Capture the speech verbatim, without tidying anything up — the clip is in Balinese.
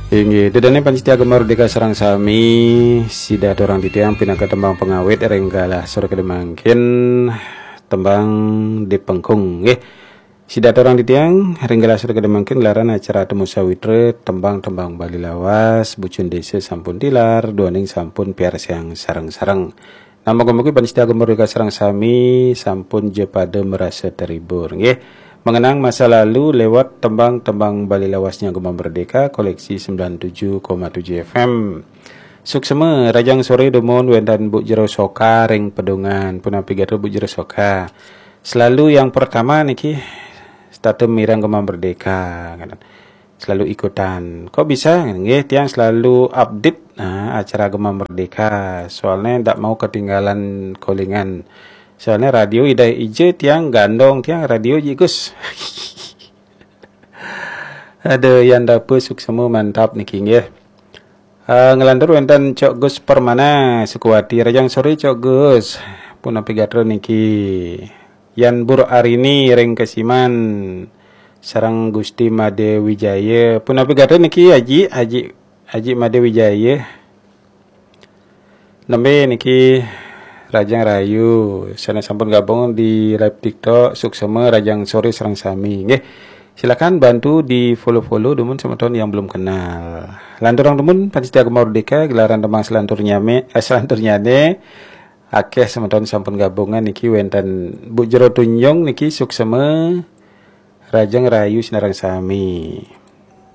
Inggih, ida dané pamiarsa Gema Merdeka sareng sami, sida aturang titiang pinaka tembang pangawit ring galah sore kadi mangkin, tembang Dipengkung nggih. Sida aturang titiang ring galah sore kadi mangkin gelaran acara Temu Sawitra, tembang-tembang Bali lawas, Bucun Desa sampun tilar, duaning sampun piarsayang sareng-sareng. Nah, mugi-mugi pamiarsa Gema Merdeka sareng sami sampun ja pada merasa terhibur nggih. Mengenang masa lalu lewat tembang-tembang Bali lawasnya Gema Merdeka koleksi sembilan tujuh koma tujuh F M. Suksma, rahajeng sore dumun wénten Bu Jero Soka ring Pedungan. Punapi gatra Bu Jero Soka? Selalu yang pertama niki setata mireng Gema Merdeka, selalu ikutan. Kok bisa? Nggih, tiang selalu update, nah, acara Gema Merdeka. Soalnya ndak mau ketinggalan callingan. Soalnya radio ida ija tiang gandong tiang radio ji Gus. Ada yang dapat suksma mantap niki nggih. Uh, ngelantur wénten Cok Gus Permana Sukuwati, rahajeng sore Cok Gus. Punapi gatra niki? Yan Bur Arini ring Kesiman sareng Gusti Made Wijaya. Punapi gatra niki Aji, Aji, Aji Made Wijaya? Nembé niki rahajeng rahayu, sané sampun gabung di live TikTok, suksma rahajeng sore sareng sami nggih. Silakan bantu di follow-follow dumun semeton yang belum kenal. Lanturang dumun pamiarsa Gema Merdeka, gelaran tembang selanturnya me, eh, selanturnya ne, akeh semeton sampun gabungan niki wénten Bu Jero Tunjung niki suksma rahajeng rahayu sinareng sami.